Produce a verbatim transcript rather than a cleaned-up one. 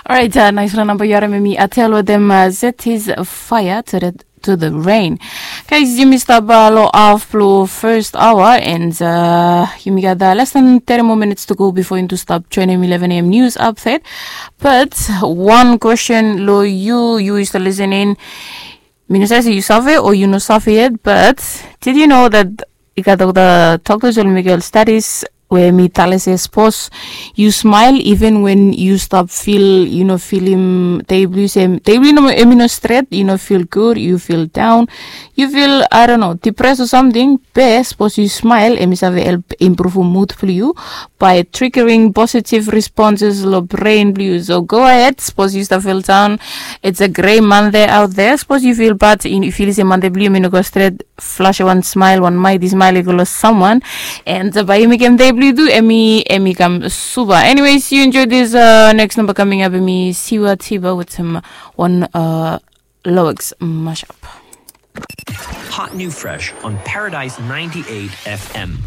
Orait, naispela namba yu harim em i Atel wetem Zet His Fire to the, to the Rain. Guys, yumi stap long haf blong first hour and yumi gat less than thirty more minutes to go before into stop joining eleven a.m. news update. But one question long yu, yu is listening. Mi no save se yu save o yu no save yet, but did you know that i gat olgeta doctors ol mekim ol studies we mi tale se sapos yu smile even when yu stap fil, yu no filim dei blong yu se dei blong yu em i no stret, yu no fil gud, yu fil daun, yu fil, I don't know, depressed o samting, be sapos yu smile em i save help improve mood blong yu by triggering positive responses long brain blong yu. So go ahead, sapos yu stap fil daun, it's a grey Monday out there. Sapos yu fil bad, yu fil se Monday blong yu em i no go stret, flash wan smile, wan mighty smile i go long someone. And bai yu mekim dei blong yu tu em i, em i kam supa. Anyways, yu enjoy this. Next number coming up em i Siwa Tiba with some one Lowex mashup. Hot new fresh on Paradise ninety-eight F M.